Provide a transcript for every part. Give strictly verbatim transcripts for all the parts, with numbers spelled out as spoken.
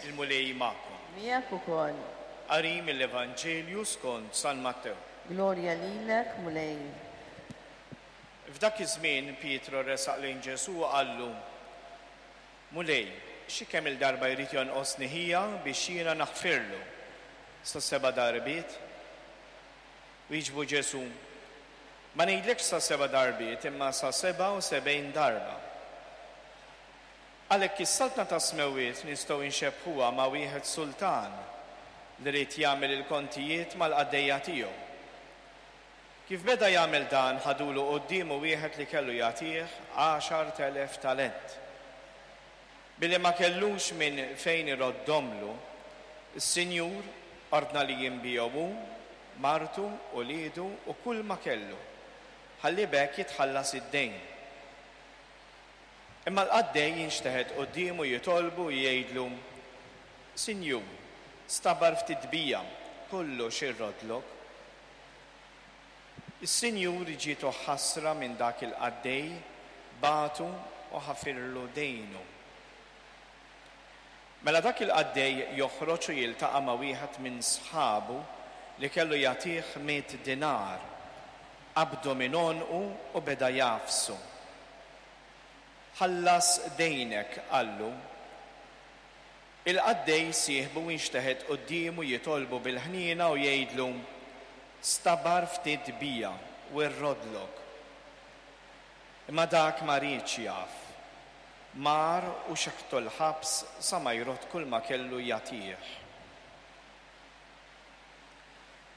Il-Mulej magħkom. Miegħek ukoll. Qari mill-Evanġelju skont San Mattew. Glorja lilek, Mulej. F'dak iż-żmien Pietru resaq lejn Ġesù u qallu: Mulej, xi kemm il-darba jrid jonqosni ħija biex jiena naħfirlu? Sa seba' darbiet? Wieġbu Ġesù: Ma ngħidlekx sa seba' darbiet, imma sa seba' u sebgħin darba. Għalhekk is-saltna tas-smewwiet nistgħu nxebbhuha ma' wieħed sultan li ried jagħmel il-kontijiet mal-qaddejja tiegħu. Kif beda jagħmel dan, ħadulu quddiemu wieħed li kellu jagħtih għaxart elef talent. Billi ma kellux minn fejn iroddomlu, is-Sinjur ordna li jinbiegħu hu, martu, uliedu u kull ma kellu, ħalli b'hekk jitħallas id-dejn. Imma l-qaddej jinxteħet quddiemu jitolbu u jgħidlu: Sinjur, stabar ftit bija, kollox irrodlok. Is-Sinjur ġietu ħasra minn dak il-qaddej, bagħtu u ħafirlu dejnu. Mela dak il-qaddej joħroġ u jiltaqa' ma' wieħed minn sħabu li kellu jagħtih mitt dinar. Qabdu minn għonqu u beda jagħfsu. Ħallas dejnek, qallu. Il-qaddej sieħbu inxteħet quddiemu jitolbu bil-ħniena u jgħidlu: Stabar ftit bija u rrodlok. Imma dak ma riedx jaf. Mar u xeħtu l-ħabs sa ma jrod kull ma kellu jagħtih.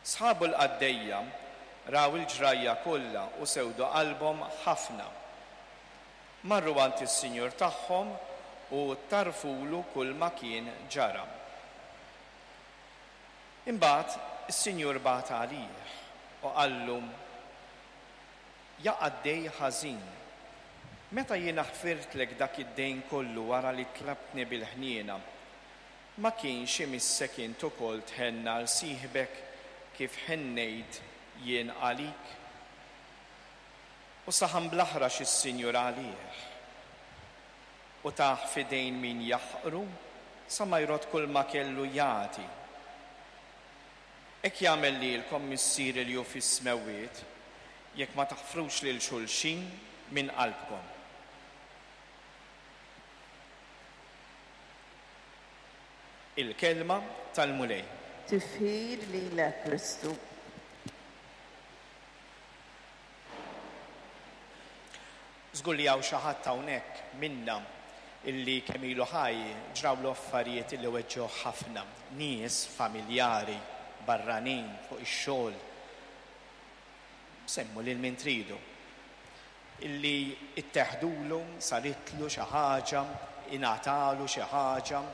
Sħabu l-qaddejja raw il-ġrajja kollha u sewdu qalbhom ħafna. Marru għand is-sinjur tagħhom u tarfulu kull ma kien ġara. Imbagħad is-sinjur bagħat għalih u qallu: Ja qaddej ħażin, meta jiena ħfirtlek dak id-dejn kollu wara li tlabtni bil-ħniena, ma kienx imissek int ukoll tħenn għal sieħbek kif ħennejt jien għalik? U saħan bl-aħrax is-sinjur għalih u tah f'idejn min jaħqru sa ma jrod kull ma kellu jagħti. Hekk jagħmel lilkom Missieri li hu fis-smewwiet jekk ma taħfrux lil xulxin minn qalbkom. Il-kelma tal-Mulej. Tifħir lilek, Kristu. Żgur li hawn xi ħadd hawnhekk minna illi kemm ilu ħaj ġrawlu affarijiet illi weġġew ħafna, nies familjari, barranin, fuq ix-xogħol. Semmu lil min tridu. Illi itteħdulu, saritlu xi ħaġa, ingħatalu xi ħaġa,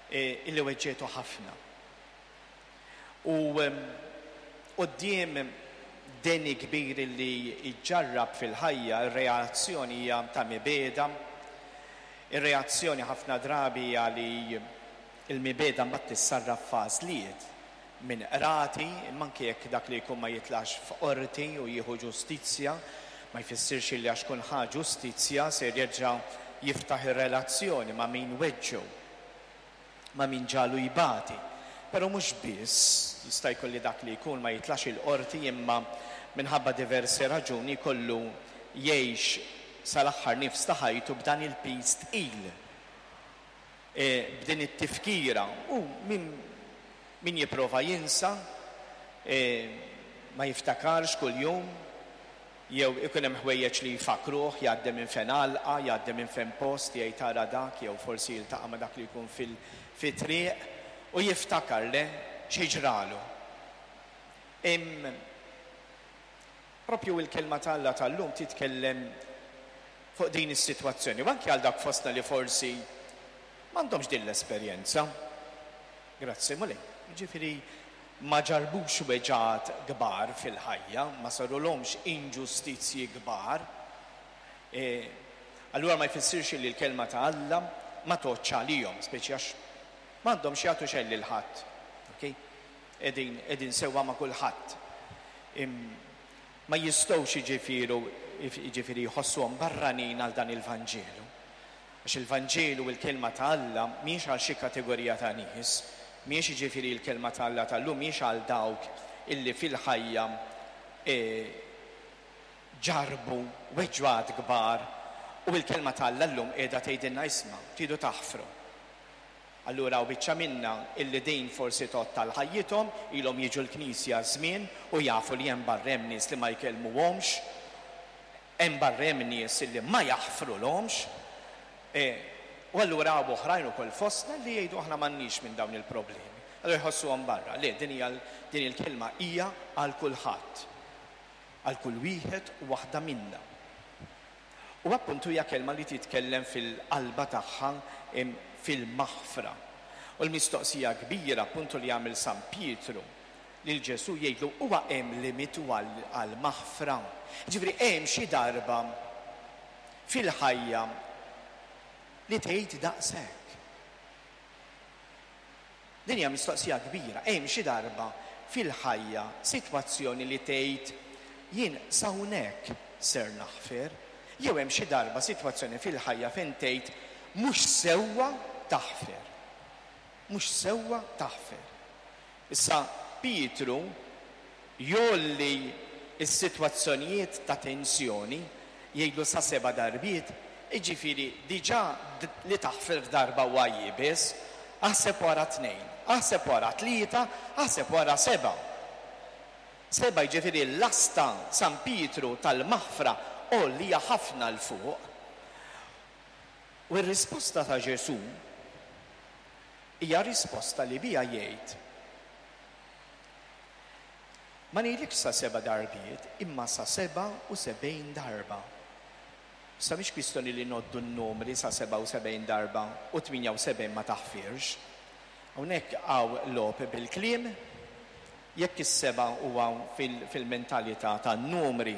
e, illi weġġetu ħafna. U, em, quddiem deni kbir illi iġġarrab fil-ħajja, ir-reazzjoni hija ta' mibegħda. Ir-reazzjoni ħafna drabi hija li l-mibegħda mbagħad tissarraf f'għażliet minn qrati, imma anke jekk dak li jkun ma jitlax f'qorti u jieħu ġustizzja, ma jfissirx li għax kun ħa ġustizzja se jerġa' jiftaħ ir-relazzjoni ma' min weġġew, ma' min ġalu jbati. Però mhux biss, jista' jkun li dak li jkun ma jitlax il-qorti imma minħabba diversi raġuni kollu jgħix sal-aħħar nifs ta' ħajtu b'dan il-piż tqil, e, b'din it-tifkira. U min, min jipprova jinsa, e, ma jiftakarx kuljum, jew ikun hemm ħwejjeġ li jfakruh, jgħaddi minn fejn għalqa, jgħaddi minn fejn post, jgħid tara dak, jew forsi jiltaqa' ma' dak li jkun fil-, fit-triq u jiftakar le xi ġralu. Im propju il-kelma ta' Alla tal-lum titkellem fuq din is-sitwazzjoni, u anke għal dak fostna li forsi m'għandhomx din l-esperjenza. Grazzi Mulej. Jiġifieri ma ġarbux weġgħat kbar fil-ħajja, ma sarulhomx inġustizzji kbar. E, allura ma jfissirx li l-kelma ta' Alla ma tgħoddx għalihom, speċi għax m'għandhomx jagħtu xejn lil ħadd. Okay? Qegħdin, qegħdin sewwa ma' kulħadd. Im-, ma jistgħux jiġifieri, jiġifieri jħossuhom barranin għal dan il-Vanġelu. Għax il-Vanġelu u l-kelma ta' Alla mhijiex għal xi kategorija ta' nies, mhijiex jiġifieri l-kelma ta' Alla tal-lum mhijiex għal dawk illi fil-ħajja e, ġarbu weġgħat kbar u l-kelma ta' Alla llum qiegħda tgħidilna isma' tridu taħfru. Allura u biċċa minna illi din forsi tgħodd tal ħajjithom, ilhom jiġu l-knisja żmien u jafu li hemm barra hemm nies li ma jkellmuhomx, hemm barra hemm nies illi ma jaħfrulhomx. E, u allura hawn oħrajn ukoll fostna li jgħidu aħna m'għandniex minn dawn il-problemi. Allura jħossuhom barra. Le, din hija din il-kelma hija għal kulħadd. Għal kull wieħed u waħda minna. U appuntu hija kelma li titkellem fil-qalba tagħha fil-maħfra. U l-mistoqsija kbira appuntu li jagħmel San Pietru lil Ġesù jgħidlu huwa hemm limitu għall-maħfra. Ġifieri hemm xi darba fil-ħajja li tgħid daqshekk. Din hija mistoqsija kbira. Hemm xi darba fil-ħajja sitwazzjoni li tgħid jien s'hawnhekk ser naħfer, jew hemm xi darba sitwazzjoni fil-ħajja fejn tgħid mhux sewwa taħfer. Mhux sewwa taħfer. Issa Pietru jgħolli s-sitwazzjonijiet ta' tensjoni jgħidlu sa seba' darbiet, jiġifieri diġà li taħfer darba huwa iebes, aħseb wara tnejn, aħseb wara tlieta, aħseb wara seba'. Seba' jiġifieri l-asta San Pietru tal-maħfra għollija ħafna 'l fuq. U r-risposta ta' Ġesù hija risposta li biha jgħid ma ngħidlikx sa seba' darbiet, imma sa seba' u sebgħin darba. Issa mhix kwistjoni li ngħoddu n-numri sa sebgħa u sebgħin darba u tmienja u sebgħin ma taħfirx. Hawnhekk hawn logħob bil-kliem, jekk is-seba' huwa fil-mentalità tan-numri,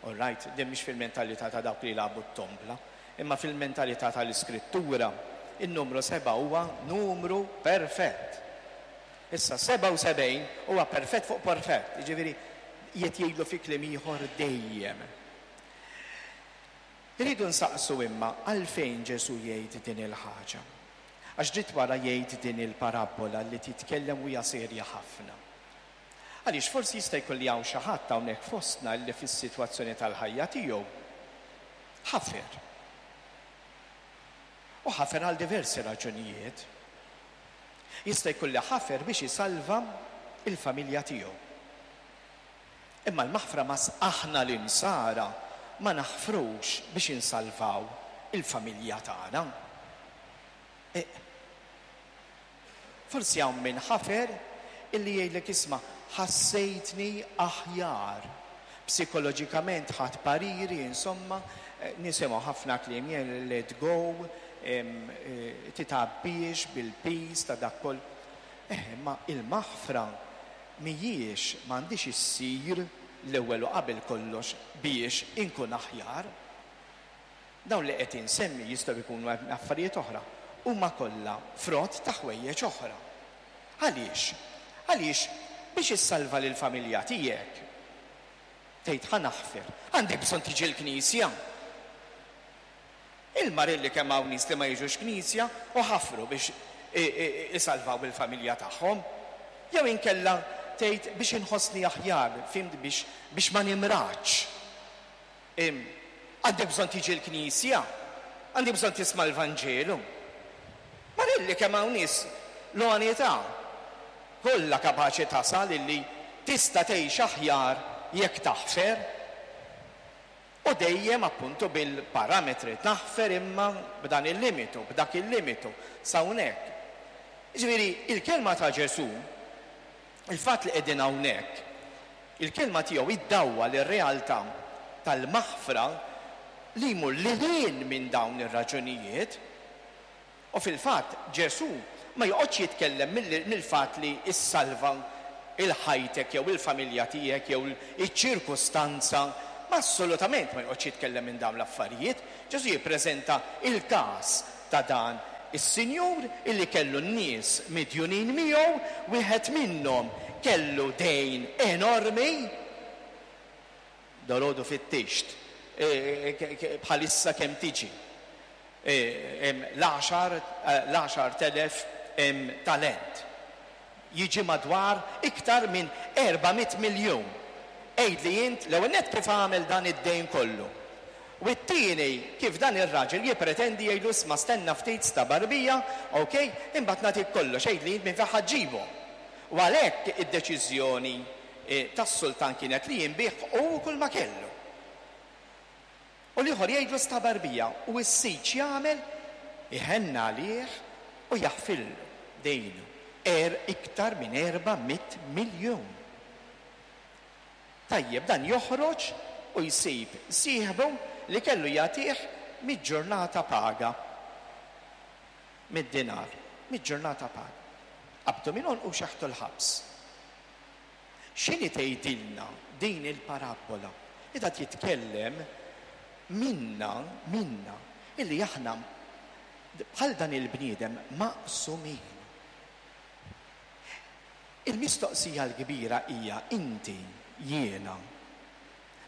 all right, din mhix fil-mentalità ta' dawk li jilagħbu t-tombla, imma fil-mentalità tal-Iskrittura, in-numru seba' huwa numru perfett. Issa sebgħa u sebgħin huwa perfett fuq perfett, jiġifieri qiegħed jgħidlu fi kliem ieħor dejjem. Irridu nsaqsu imma għalfejn Ġesù jgħid din il-ħaġa. Għax dritt wara jgħid din il-parabbola li titkellem u hija serja ħafna. Għaliex forsi jista' jkun li hawn xi ħadd hawnhekk fostna li fis-sitwazzjoni tal-ħajja tiegħu ħafer. U ħafer għal diversi raġunijiet. Jista' jkun li ħafer biex isalva il-familja tiegħu. Imma l-maħfra mas aħna l-insara ma naħfrux biex insalvaw il-familja tagħna. E, forsi hawn min ħafer illi jgħidlek isma' ħassejtni aħjar. Psikoloġikament ħadd pariri, insomma, nisimgħu ħafna kliem jien let go, titgħabbiex bil-piż ta' dak koll. Eh, imma il-maħfra mhijiex m'għandix issir l-ewwel u qabel kollox biex inkun aħjar. Dawn li qed insemmi jistgħu jkunu affarijiet oħra, huma kollha frott ta' ħwejjeġ oħra. Għaliex? Għaliex biex issalva lill-familja tiegħek tgħid ħa naħfer, għandek bżonn tiġi l-knisja. Il-marilli kemm hawn nies li ma jiġux knisja u ħafru biex isalvaw il-familja tagħhom. Jew inkella tgħid biex inħossni aħjar, fhimt, biex biex ma nimraġ. Għandek bżonn tiġi l-knisja, għandek bżonn tisma' l-Vanġelu. Marilli kemm hawn nies l-għanità kollha kapaċi tasal illi tista' tgħix aħjar jekk taħfer. U dejjem appuntu bil-parametri taħfer imma b'dan il-limitu, b'dak il-limitu, s'hawnhekk. Jiġifieri il-kelma ta' Ġesù, il-fatt li qegħdin hawnhekk, il-kelma tiegħu iddawwal ir-realtà tal-maħfra li jmur lil hinn minn dawn ir-raġunijiet. U fil-fatt Ġesù ma joqgħodx jitkellem mill-fatt li ssalva il-ħajtek jew il-familja tiegħek jew iċ-ċirkustanza, ma assolutament ma joqgħodx jitkellem minn dawn l-affarijiet. Ġesù jippreżenta il-każ ta' dan is-sinjur illi kellu n-nies midjunin miegħu, wieħed minnhom kellu dejn enormi, dolodu fit-tixt, bħalissa kemm tiġi. L-għaxart elef talent. Jiġi madwar iktar minn erba' mitt miljun. Għid li int l-ewwel nett kif għamel dan id-dejn kollu. U t-tieni kif dan ir-raġel jippretendi jgħidlu isma' stenna ftit stabar bija, ok, imbagħad nagħtik kollox, għid li int minn fejn ħa ġġibu. U għalhekk id-deċiżjoni tas-sultan kienet li jinbih u kull ma kellu. U l-ieħor jgħidlu stabar bija u s-sid x'jagħmel? Iħenna għalih u jaħfillu dejnu. Er iktar minn erba' mitt miljun. Tajjeb, dan joħroġ u jsib sieħbu li kellu jagħtih mid-ġurnata paga. Mid-dinar, mid-ġurnata paga. Qabdu minn u xeħtu l-ħabs. X'inhi tgħidilna din il-parabbola? Ida jitkellem minna, minna, illi aħna bħal dan il-bniedem maqsumin. Il-mistoqsija l-kbira hija inti, jiena,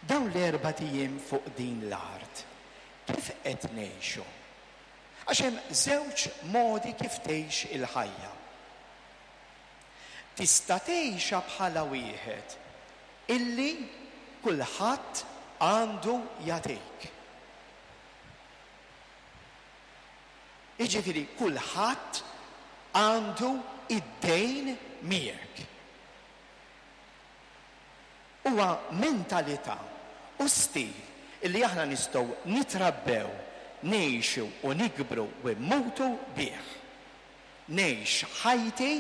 dawn l-erba' ijiem fuq din l-art, kif qed ngħixu? Għax hemm żewġ modi kif tgħix il-ħajja. Tista' tgħixha bħala wieħed illi kulħadd għandu jagħtik. Jiġifieri kulħadd għandu id-dejn miegħek. Huwa mentalità u stil illi aħna nistgħu nitrabbew, ngħixu u nikbru u mmutu bih. Ngħix ħajti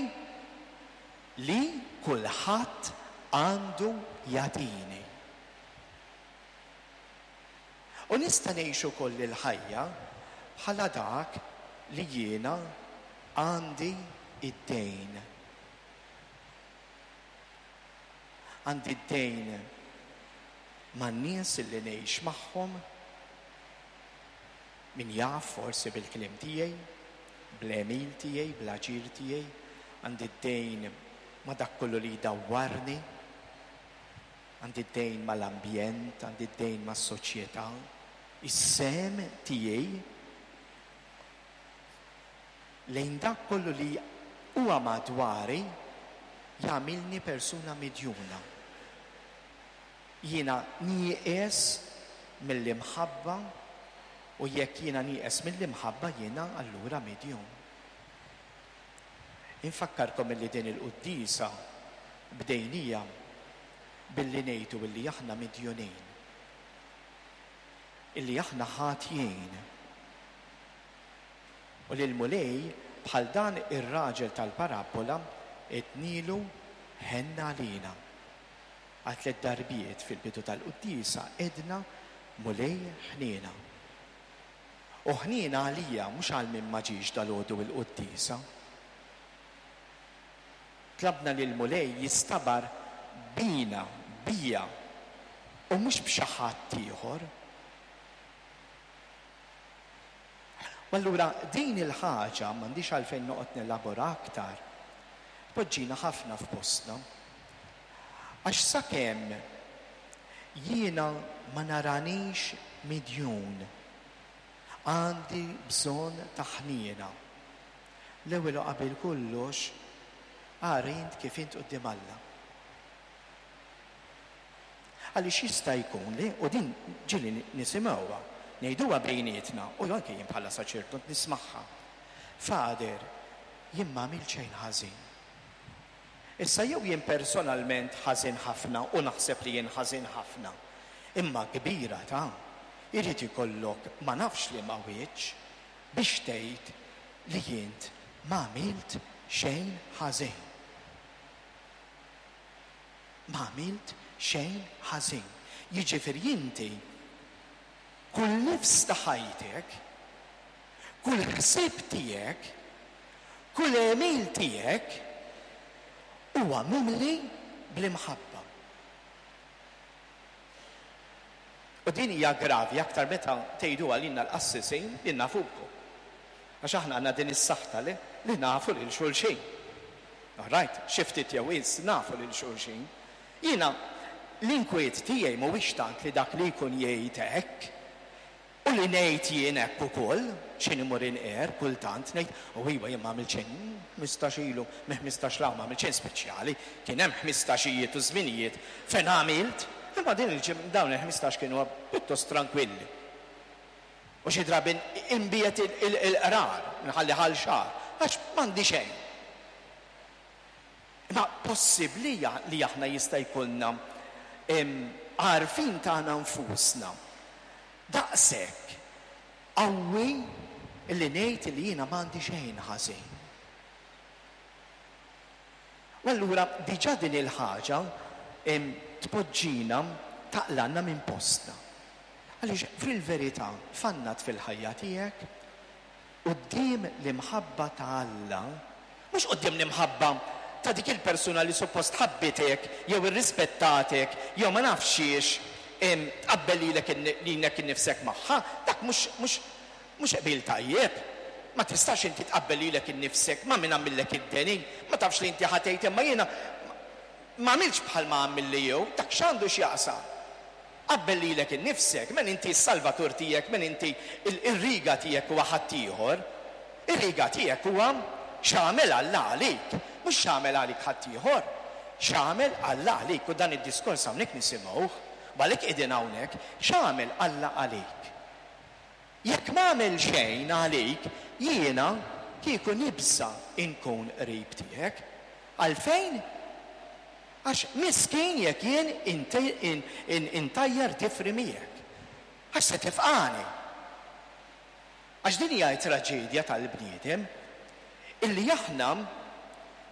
li kulħadd għandu jagħtini. U nista' ngħix ukoll il-ħajja bħala dak li jiena għandi id-dejn. Għandi d-dejn man-nies li ngħix magħhom, min jaf forsi bil-kliem tiegħi, bl-għemil tiegħi, bl-aġir tiegħi, għandi d-dejn ma' dak kollu li jdawwarni, għandi d-dejn mal-ambjent, għandi d-dejn mas-soċjetà, is-sehem tiegħi lejn dak kollu li huwa madwari jagħmilni persuna midjuna. Jiena nieqes mill-imħabba u jekk jiena nieqes mill-imħabba jiena allura midjun. Infakkarkom illi din il-quddiesa bdejnija billi ngħidu illi aħna midjunin. Illi aħna ħatjin. U li l-Mulej bħal dan ir-raġel tal-parabbola etnilu ħenna għalina. Għal tliet darbiet fil-bidu tal-quddiesa edna Mulej ħniena. U ħniena għalija mhux għal min ma ġiex dalgħodu il-quddiesa. Tlabna li l-Mulej jistabar bina, bija, u mhux b'xi ħadd ieħor. U allura din il-ħaġa m'għandix għalfejn noqgħod nelabora aktar. Poġġina ħafna f'postna. Għax sakemm jiena ma naranix midjun, għandi bżonn ta' ħniena. L-ewwel u qabel kollox, ara int kif int quddiem Alla. Għaliex jista' jkun li, u din ġieli nisimgħuha, ngħiduha bejnietna, u anke jien bħala saċerdot nismagħha. Fader, jien ma għamilt xejn ħażin. Issa jew jien personalment ħażin ħafna u naħseb li jien ħażin ħafna, imma kbira ta' irid ikollok ma nafx li ma wiċċ biex tgħid li jint ma għamilt xejn ħażin. Ma għamilt xejn ħażin. Jiġifieri inti kull nifs ta' ħajtek, kull ħsieb tiegħek, kull għemil tiegħek huwa mimli bl-imħabba. U din hija gravi aktar meta tgħiduha lilna l-qassisin li nafukom. Għax aħna għandna din is-saħta li, li nafu lil xulxin. All right, xi ftit jew wisq nafu lil xulxin. Jiena l-inkwiet tiegħi mhuwiex tant li dak li jkun jgħid hekk u U li ngħid jien hekk ukoll, x'inhi mur inqer kultant ngħid, u iva jien ma għamilt xejn, ħmistax ilu, me ħmistax law ma għamilt xejn speċjali, kien hemm ħmistaxijiet u żminijiet fejn għamilt, imma din il-ġim dawn il-ħmistax kienu pjuttost tranquilli. U xi drabi inbiet il-qrar, nħalli ħal xahar, għax m'għandi xejn. Imma possibbli li aħna jista' jkollna għarfien tagħna nfusna daqshekk qawwi li ngħid li jiena m'għandi xejn ħażin. U allura diġà din il-ħaġa tpoġġina taqlanna minn postna. Għaliex fil-verità fannat fil-ħajja tiegħek quddiem l-imħabba ta' Alla, mhux quddiem l-imħabba ta' dik il-persuna li suppost ħabbitek jew irrispettatek jew ma nafx xiex tqabbel lilek lilek innifsek magħha, dak mhux mhux mhux qbil tajjeb. Ma tistax inti tqabbel lilek innifsek ma' min għamillek id-deni, ma tafx li inti ħatejt imma jiena ma għamilx bħal ma għamilli jew, dak x'għandu x'jaqsam. Qabbel lilek innifsek, men inti s-salvatur tiegħek, men inti ir-riga tiegħek huwa ħaddieħor. Ir-riga tiegħek huwa x'għamel Alla għalik, mhux x'għamel għalik ħaddieħor. X'għamel Alla għalik, u dan id-diskors hawnhekk nisimgħuh, għalhekk qegħdin hawnhekk, x'għamel Alla għalik. Jekk m'għamel xejn għalik, jiena kieku nibża' inkun qrib tiegħek. Għalfejn? Għax miskin jekk jien intajjar tifri miegħek. Għax se tifqani. Għax din hija traġedja tal-bniedem illi aħna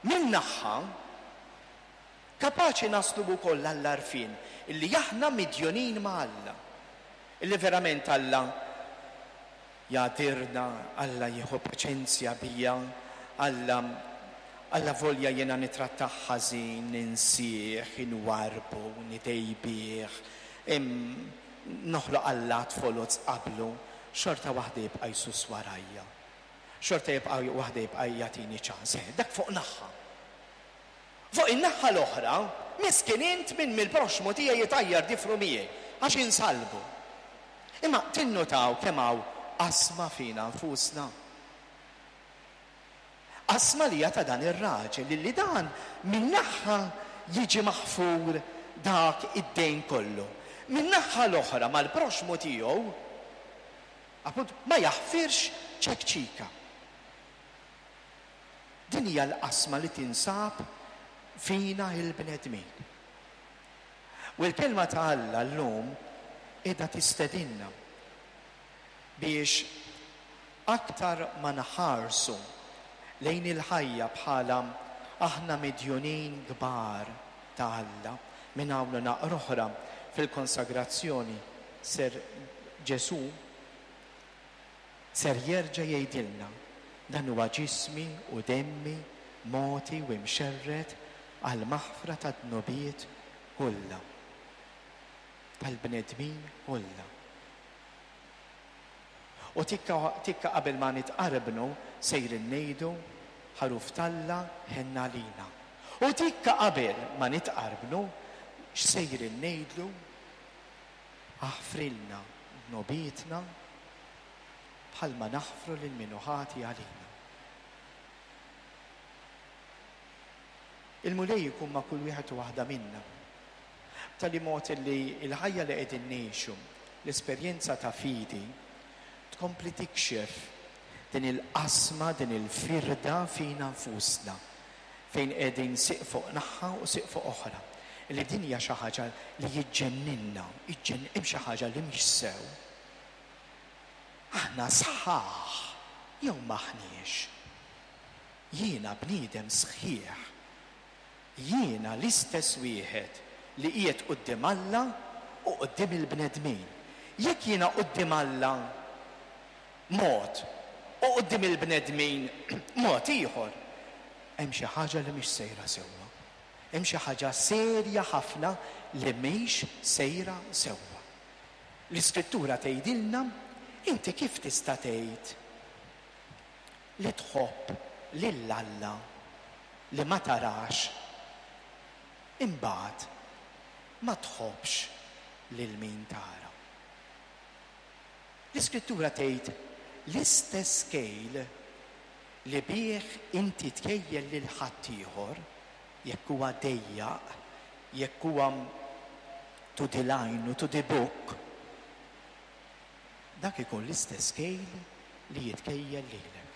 minn naħa kapaċi naslu wkoll għall-għarfien illi aħna midjonin ma' Alla. Illi verament Alla jagħdirna, Alla jieħu paċenzja bija, Alla Alla volja jiena nitrattah ħażin, ninsieh, inwarbu, nitejbih, noħloq allat foloz qablu, xorta waħda jibqa' jsus warajja. Xorta jibqa' waħda jibqa' jagħtini ċans. Dak fuq naħa. Fuq in-naħa l-oħra, miskin int minn mill-proxmu tiegħi jitajjar difru miegħi għax insalbu. Imma tinnutaw kemm hawn qasma fina nfusna. Qasma li ta' dan ir-raġel li dan minn naħa jiġi maħfur dak id-dejn kollu. Minn naħa l-oħra mal-proxmu tiegħu appunt ma jaħfirx ċekċika. Din hija l-qasma li tinsab fina il-bnedmin. U l-kelma ta' Alla llum qiegħda tistedinna biex aktar ma naħarsu lejn il-ħajja bħala aħna midjunin kbar ta' Alla. Minn hawn naqra oħra fil-konsagrazzjoni ser Ġesù ser jerġa' jgħidilna dan huwa ġismi u demmi mogħti u mxerred għal maħfra ta' dnubiet kollha tal-bnedmin kollha. U tikka, tikka qabel ma nitqarbnu sejrin ngħidu ħaruf t'Alla ħenna lina. U tikka qabel ma nitqarbnu x'sejrin ngħidlu aħfrilna dnubietna bħalma naħfru lil min hu ħati għalina. Il-Mulej ikun ma' kull wieħed u waħda minna. B'tali mod li l-ħajja li qegħdin ngħixu, l-esperjenza ta' fidi, tkompli tikxef din il-qasma, din il-firda fina nfusna, fejn qegħdin siq fuq naħa u siq fuq oħra. Li din hija xi ħaġa li jiġġenninna, jiġġenn hemm xi ħaġa li mhix sew. Aħna sħaħ jew m'aħniex. Jiena bniedem sħiħ. Jiena l-istess wieħed li qiegħed quddiem Alla u quddiem il-bnedmin. Jekk jiena quddiem Alla mod u quddiem il-bnedmin mod ieħor, hemm xi ħaġa li mhix sejra sewwa. Hemm xi ħaġa serja ħafna li mhix sejra sewwa. L-Iskrittura tgħidilna inti kif tista' tgħid li tħobb lil Alla li ma tarax, imbagħad ma tħobbx lil min tara. L-Iskrittura tgħid l-istess kejl li bih inti tkejjel lil ħaddieħor, jekk huwa dejjaq, jekk huwa to the line u to the book, dak ikun l-istess kejl li jitkejjel lilek.